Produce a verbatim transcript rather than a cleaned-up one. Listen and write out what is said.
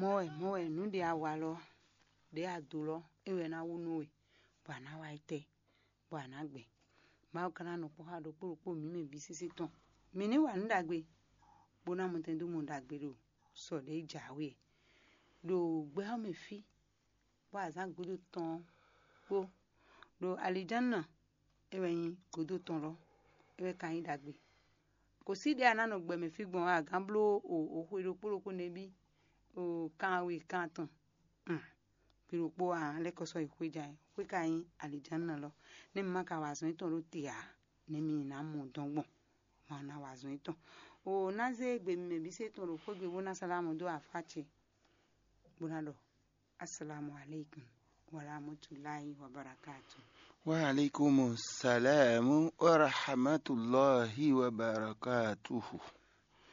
Mɔ̌ wɛ, mɔ̌ wɛ, nǔ ɖě a wa lɔ, ɖě a do lɔ, é wɛ ná wú nú we, bɔ a nǎ wa yi tɛ, bɔ a nǎ gbɛ. Mawu ka ná nɔ kpɔ́ xá ɖokpó ɖokpó mǐ mɛ bǐ sésé tɔn. Mǐ ní wa nǔ ɖagbe, bó ná mɔtɛn dó mɔ ɖagbe ɖo sɔ ɖě jǎwe ɖo gbɛ ɔ́ mɛ fí, bɔ azǎn gúdo tɔn ɔ́ kpó ɖo alijánna, é wɛ nyí gǔdo tɔn lɔ, é wɛ ka nyí ɖagbe. Kò sí ɖě a ná nɔ gbɛ mɛ fí gbɔn ɔ́, a gǎn bló o xwe ɖokpó ɖokpó nɛbí o kan we kan atɔn. Gbe ɖokpó a lɛ́ kɔ sɔ́ yi xwé ja ɛ, xwé ka nyí alijánna lɔ. Nɛ́ mi ma ka wa azɔn yětɔn ɖó te ǎ, nɛ́ mi ná mɔ dɔn gbɔn. Ma ná wa azɔn yětɔn. O ná zé gbe mɛ bǐ se tɔn ɖo xwégbe bó ná salámù dó afá ce, bó ná ɖɔ: Assalamu alaikum wa rahmatullahi wa barakatuh. Wa alaikum salam wa rahmatullahi wa barakatuh.